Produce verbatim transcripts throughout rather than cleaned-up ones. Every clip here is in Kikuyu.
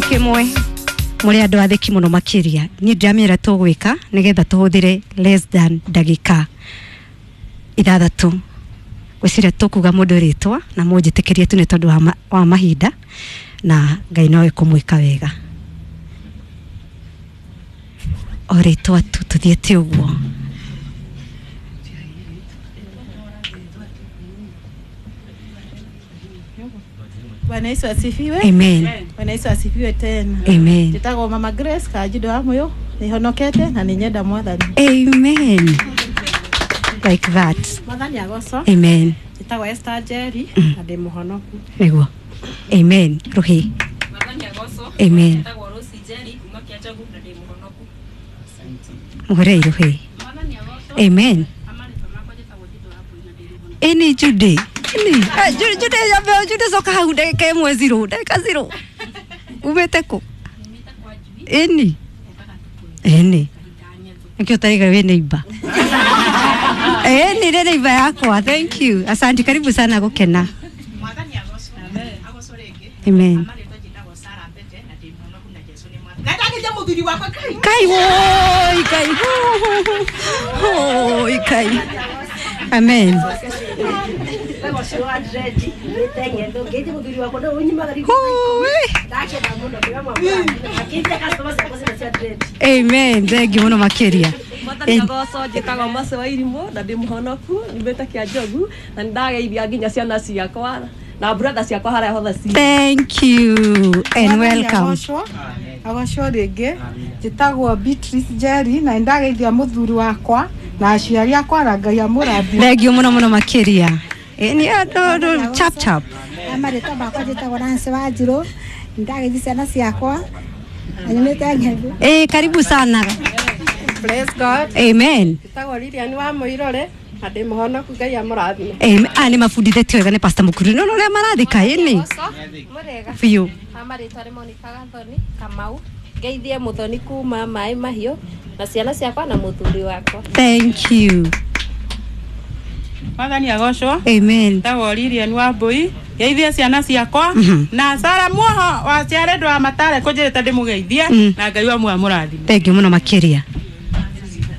Kimwe muri andu athiki muno makiria ni ndiramira tugwika nigetha tuhuthire less than ndagika ithathatu gwiciria tukuga mundu ritwa na munjitikirie tu ni tondu wa, ma, wa mahinda na Ngai no ekumwika wega o ritwa tu tuthiete uguo. Bwana Yesu asifiwe. Amen. Bwana Yesu asifiwe tena. Amen. Njitagwo Mama Grace Kajido wa Muyo, nihonokete na ninyenda Mwathani. Amen. Like that. Mwathani agoco. Amen. Njitagwo Esther Jerry na ndi muhonoku. Niguo. Amen. Ruhi. Mwathani agoco. Amen. Njitagwo Rosie Jerry kuma Kiachagu na ndi muhonoku. Muhorei Ruhi. Mwathani agoco. Amen. Eni Judy. Ni Judy Judy ya Judy soka hau ndagika imwe zero ndagika zero umete ku eni eni nikio tariga we neighbor eni re neighbor yakwa. Thank you, asante, karibu sana gukena. Mwathani agoco. Agoco ringi. Amen. Kai woi kai woi kai. Amen. Amen. Thank you muno makiria. Mwathani agoco njitagwo Mercy wa Irimu na ndi muhonoku nyumite kia Njogu na ndageithia nginya ciana ciakwa na brother ciakwa haria hothe ci. Thank you and welcome. Agoco ringi njitagwo Beatrice Jerry na ndageithia muthuri wakwa na aciari akwa na Ngai amũrathime. Thank you muno muno makiria. Ni ado chap chap. Amarĩtwa makwa njĩtagwo Nancy Wanjirũ ndageithia ciana ciakwa na nyumĩte Ng'ethu. Eh, karibu sana. Praise God. Amen. Njĩtagwo Lilian wa Mũirore na ndĩ mũhonoku Ngai amũrathime. Amen. Ah, ni mabundithĩtio wega nĩ Pastor Mukuru. No no ũrĩa marathika ĩni. Mũrega. Biũ. Amarĩtwa nĩ Monica Gathoni Kamau ngeithie Muthoni kuma Maĩ Mahiũ na ciana ciakwa na muthuri wakwa. Thank you. Mwathani agocwo. Amen. Tagwo Lilian wa Mbui ngeithie ciana ciakwa na Sara Muoho wa ciarendwa wa Matare kunjirite ndimugeithie na Ngai wa muoyo amũrathime. Thank you muno makiria.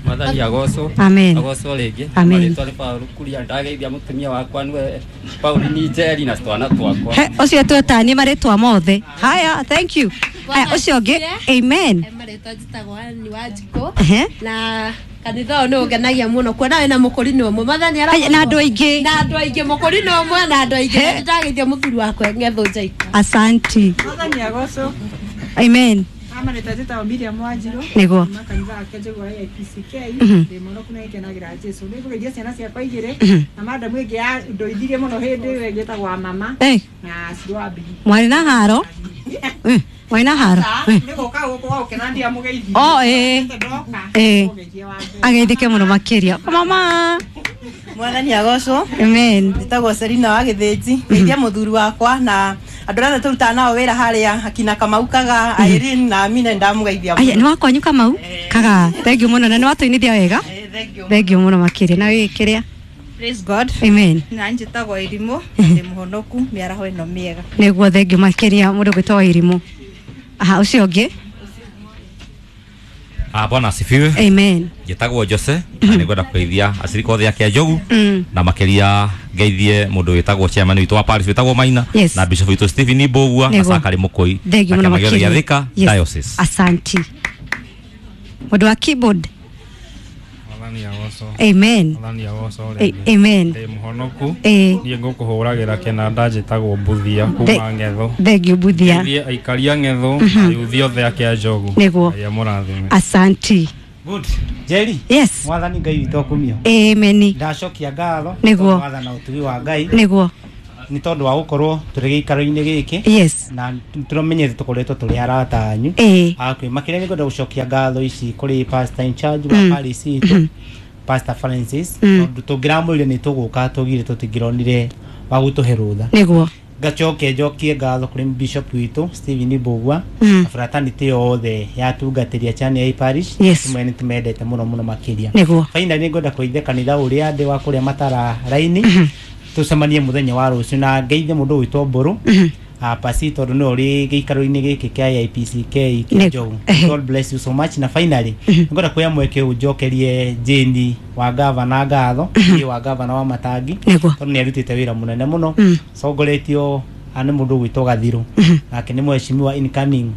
Mwathani agocwo. Amen. Agocwo ringi. Amen. Marĩtwa nĩ Paul Kuria ndageithia mutumia wakwa niwe Pauline Njeri na twana twakwa. He ucio twetanie marĩtwa mothe. Haya, thank you. Haya ucio ũngĩ. Amen. Marĩtwa njĩtagwo Ann Wanjikũ na kanitha ũyũ nĩ ũngenagia mũno kuona wĩna mũkũrinũ ũmwe. Mwathani ara na andũ aingĩ na andũ aingĩ mũkũrinũ ũmwe na andũ aingĩ. Ndageithia mũthuri wakwa Ng'ethu Njaikũ. Asanti. Mwathani agocwo. Amen. Amarĩtwa njĩtagwo Miriam Wanjirũ niguo kanitha wa Kĩanjũgũ wa A I P C K ndĩ mũhonoku na nĩngenagira Jesũ. Nĩngũgeithia ciana ciakwa igĩrĩ na madamu ĩngĩ ya ndoithirie mũno hĩndĩ ĩyo ĩngĩ ĩtagwo wa mama na Ciro wa Mbigi. Mwarĩ na haro mwarĩ na haro nĩ gũka gũkũ wa gũkena ndiamũgeithirie. Oh eh eh ageithĩke mũno makĩria mama. Mwathani agocwo. Amen. Njĩtagwo Selina wa Gĩthĩnji ngeithia mũthuri wakwa na andũ arĩa tũrutaga nao wĩra harĩa akina Kamau Kaga Irene na Amina ndamũgeithia mũno. Aya nĩ wakwanyu Kamau Kaga. Thank you mũno na nĩ watũinithia wega. Thank you mũno makĩria na wĩ kĩrĩa. Praise God. Amen. Na njĩtagwo Irimũ ndĩ mũhonoku mĩaraho ĩno mĩega. Nĩguo thank you makĩria mũndũ gwĩtwo Irimũ. Aha ũcio ũngĩ. Ah, Bwana asifiwe. Amen. Njĩtagwo Jose na nĩngwenda kũgeithia acirika othe a Kĩanjogu na makĩria ngeithie mũndũ wĩtagwo chairman witũ wa parish wĩtagwo Maina yes. na bishop witũ Stephen Mbugua na Sakari Mũkũi na kĩama gĩothe gĩa Thika Diocese. Asanti. Mũndũ wa keyboard. Mwathani agocwo. Amen. Mwathani agocwo rĩngĩ. Amen. Ndĩ mũhonoku. Niĩ ngũkũhũragĩra kĩnanda njĩtagwo Mbuthia kuma Ng'ethu. Thank you Mbuthia. Ngeithie aikaria Ng'ethu na yuthi othe a Kĩanjogu. Nĩguo. Ngai amũrathime. Asanti. Good. Jerry. Yes. Mwathani Ngai witũ akumio. Amen. Ndacokia ngatho. Nĩguo. Mwathana ũtugi wa Ngai. Nĩguo. Nĩ tondũ wa gũkorwo tũrĩ gĩikaro-inĩ gĩkĩ. Yes. Na tũramenyete tũkoretwo tũrĩ arata anyu. Akwĩ makĩria nĩngwenda gũcokia ngatho ici kũrĩ pastor in charge wa parish itũ Pastor Francis tondũ tũngĩramwĩrire nĩ tũgũka tũgire tũtingĩronire wa gũtũhe rũtha. Nĩguo. Ngacoke njokie ngatho kũrĩ bishop witũ Stephen Mbugua na fraternity yothe ya tungatĩria Chania parish. Tumwe nĩ tũmendete mũno mũno makĩria. Nĩguo. Finally nĩngwenda kũgeithia kanitha ũrĩa ndĩ wa kũrĩa Matara raini tucemanie muthenya wa rucio na ngeithie mundu witwo Mburu pasi tondu no ri giikaro-inĩ gĩkĩ kĩa A I P C K kĩa Njogu. God bless you so much. Na finally ngwenda kuoya mweke ũnjokerie Jane wa gavana ngatho mm wa gavana wa Matangi tondu nĩ arutĩte wĩra mũnene mũno songoretio nĩ mũndũ gwĩtwo Gathiru nake nĩ mheshimiwa incoming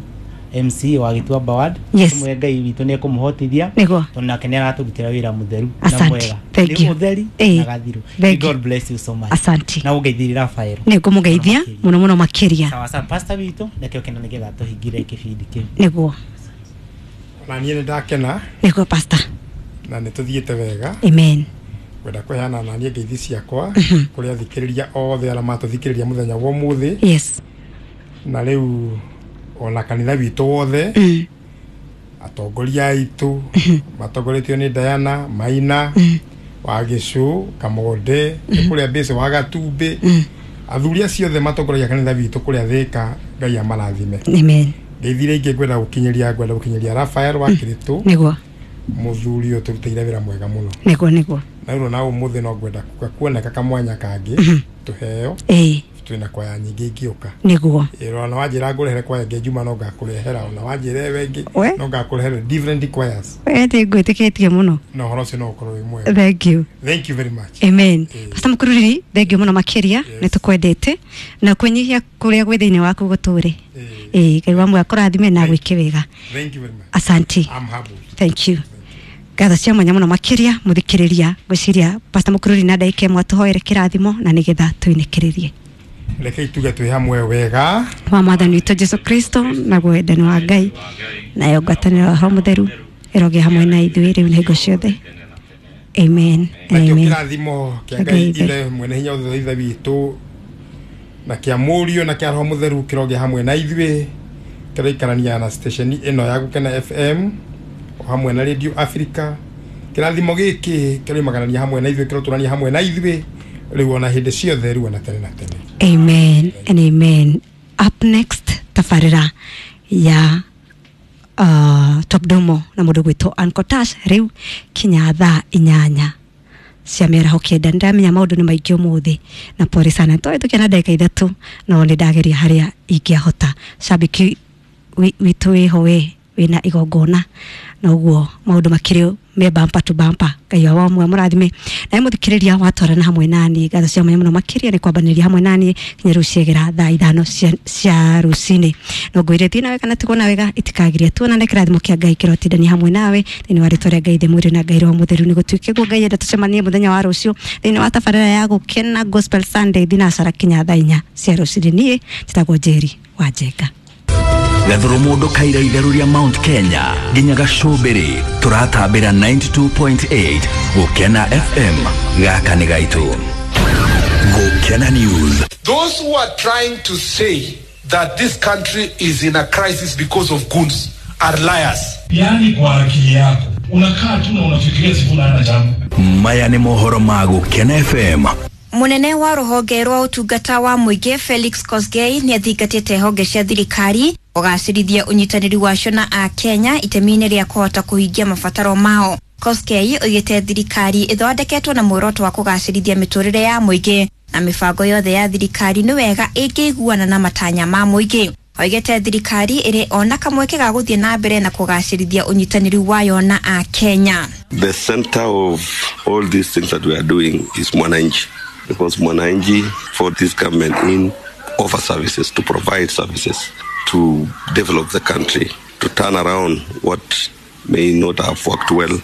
M C wa Gĩtuamba Ward. Tumwe Ngai witũ nĩ ekũmũhotithia tondu nake nĩ aratũrutĩra wĩra mũtheru na mwega. Nĩ mũtheri na Gathiru. God bless you so much. Asante. Na ũngeithĩrie Rafael. Nĩ ngũmũgeithia mũno mũno makĩria. Sawa sawa pastor witũ nakĩo kĩna nĩgetha tũhingire kĩbindi kĩu. Nĩguo. Ona niĩ nĩ ndakena. Nĩguo pastor. Na nĩ tũthiĩte wega. Amen. Ngwenda kũheana na niĩ ngeithi ciakwa kũrĩ athikĩrĩria othe arĩa matũthikĩrĩria mũthenya wa ũmũthĩ. Yes. Na rĩu ona kanitha witũ wothe mm. atongoria aitũ matongoretio nĩ Diana Maina mm. wa Gĩcũ Kamonde mm. kũrĩa Base wa Gatumbĩ mm. athuri acio othe matongoragia kanitha witũ kũrĩa Thĩka. Ngai amarathime. Amen. Ngeithire ingĩ ngwenda gũkinyĩria ngwenda gũkinyĩria Rafael wa Kĩrĩtũ. Nĩguo. Mũthuri ũyũ tũrutĩire wĩra mwega mũno. Nĩguo nĩguo. Na rĩu na ũmũthĩ no ngwenda kuoneka kamwanya kangĩ tũheo. Ĩĩ. Twina kwaya nyingĩ ingĩũka. Nĩguo. Ĩĩ ona wanjĩra ngũrehere kwaya ĩngĩ Juma no ngakũrehera ona wanjĩra ewe ĩngĩ no ngakũrehera different choirs. We ndĩ ngwĩtĩkĩtie mũno. Na ũhoro ũcio no ũkorwo wĩ mwega. Thank you. Thank you very much. Amen. Pastor Mũkururiri, thank you mũno makĩria nĩ tũkwendete na kwĩnyihia kũrĩa gwĩ thĩinĩ waku gũtũre. Ĩĩ Ngai wa muoyo akũrathime na agwĩke wega. Thank you very much. Asante. I'm humbled. Thank you. Ngatho cia mwanya mũno makĩria mũthikĩrĩria ngwĩciria Pastor Mũkururiri na ndagĩka ĩmwe atũhoere kĩrathimo na nĩgetha tũinĩkĩrĩrie. Reke ituge twĩ hamwe wega wa mwathani witũ Jesu Kristo na wendani wa Ngai nayo ngwatanĩro ya Roho Mũtheru ĩrogĩa hamwe na ithuĩ rĩu na hingo ciothe. Amen. Nakĩo kĩrathimo kĩa Ngai Ithe mwene hinya wothe Ithe witũ na kĩa Mũriũ na kĩa Roho Mũtheru kĩrogĩa hamwe na ithuĩ kĩraikarania na station ĩno ya Gũkena F M o hamwe na Radio Africa. Kĩrathimo gĩkĩ kĩroimaganania hamwe na ithuĩ kĩrotũrania hamwe na ithuĩ rĩu ona hĩndĩ ciothe rĩu ona tene na tene. Amen and amen. Up next tabarĩra ya uh, Top Domo na mũndũ gwĩtwo Uncle Tash rĩu kinya thaa inyanya cia mĩaraho kenda. Nĩndamenya maũndũ nĩ maingĩ ũmũthĩ na pore sana tũhĩtũkia na ndagĩka ithatũ no nĩ ndageria harĩa ingĩahota. Shabiki witũ wĩho we wĩna igongona na ũguo maũndũ makĩrĩ me bumper to bumper. Ngai wa mwe mũrathime na mũthikĩrĩria watwarana hamwe nani ngatho cia mwanya mũno makĩria nĩ kwambanĩria hamwe nani kinya rĩu ciegera thaa ithano cia, cia rũcinĩ. No ngwĩre thiĩ nawe kana tigwo na wega itikagiria tuonane kĩrathimo kĩa Ngai kĩrotindania hamwe nawe thĩinĩ wa rĩtwa rĩa Ngai Ithe Mũriũ na Ngai Roho Mũtheru. Nĩ gũtuĩke guo Ngai enda tũcemanie mũthenya wa rũciũ thĩinĩ wa tabarĩra ya Gũkena Gospel Sunday thinacara kinya thaa inya cia rũcinĩ. Niĩ njĩtagwo Njeri wa Njenga. Gathuru mundu kaira itheru ria Mount Kenya nginya Gacumbiri turatambira ninety-two point eight Gukena F M gaka ni gaitu. Gukena News. Those who are trying to say that this country is in a crisis because of goons are liars. Yani kwa akili yako unakaa tu na unafikiria Sifuna hana jambo. Maya ni mohoro ma Gukena F M. Munene wa ruhonge rwa utungata wa muingi Felix Kosgei ni athingatite honge cia thirikari kugacirithia unyitanĩri wacio na a Kenya itemi-inĩ rĩa kũhota kũhingia mabataro mao. Kosgei oigĩte thirikari ĩthondeketwo na muoroto wa kũgacĩrithia mĩtũrĩre ya mũingĩ na mĩbango yothe ya thirikari nĩ wega ĩngĩiguana na matanya ma mũingĩ. Oigĩte thirikari ĩrĩ ona kamweke ga gũthiĩ na mbere na kũgacĩrithia ũnyitanĩri wayo na a Kenya. The center of all these things that we are doing is Mwananchi, because Mwananchi for this government in offer services, to provide services, to develop the country, to turn around what may not have worked well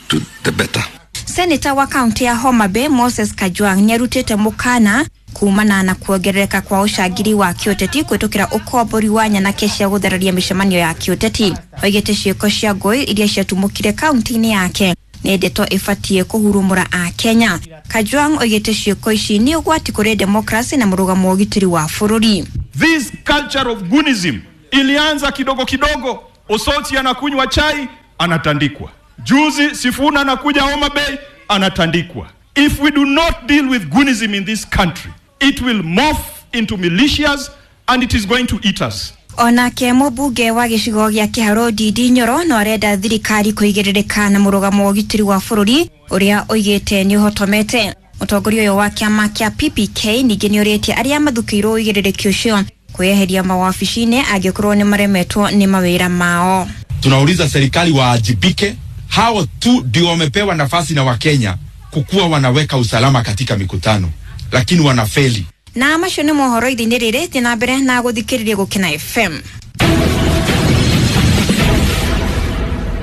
to the better. Senator wa kaunti ya Homa Bay Moses Kajwang nĩarutĩte mũkana kumana na kuongerereka kwa ũcangiri wa kĩũteti kũhĩtũkĩra ũkombori wa nyanake cia gũthararia mĩcemanio ya kĩũteti. Oigĩte ciĩko cia ngũĩ iria ciatumũkire kaunti-inĩ yake nĩ ndeto ĩbatiĩ kũhurumũra a Kenya. Kajwang oigĩte ciĩko ici nĩ ũgwati kũrĩ demokrasi na mũrũgamo wa ũgitĩri wa bũrũri. This culture of goonism ilianza kidogo kidogo. Osoti anakunywa chai anatandikwa. Juzi Sifuna anakuja Homa Bay anatandikwa. If we do not deal with goonism in this country, it will morph into militias and it is going to eat us. Onake mũmbunge wa gĩcigo gĩa Kĩharũ Ndindi Nyoro no arenda thirikari kũigĩrĩrĩka na mũrũgamo wa ũgitĩri wa bũrũri ũrĩa oigĩte nĩ ũhotomete. Mũtongoria ũyũ wa kĩama kĩa P P K ningĩ nĩ orĩtie arĩa mathukĩirwo ũigĩrĩrĩki ũcio Kweheria mawabici-inĩ angĩkorwo nĩ maremetwo nĩ mawĩra mao. Tunauliza serikali waajibike, hao tu ndio wamepewa nafasi na Wakenya kukuwa wanaweka usalama katika mikutano, lakini wanafeli. Na macio nĩ mohoro ithinĩ rĩrĩ thiĩ na mbere na gũthikĩrĩria Gũkena F M.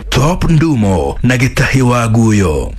Top Ndumo na Gĩtahi wa Guyo.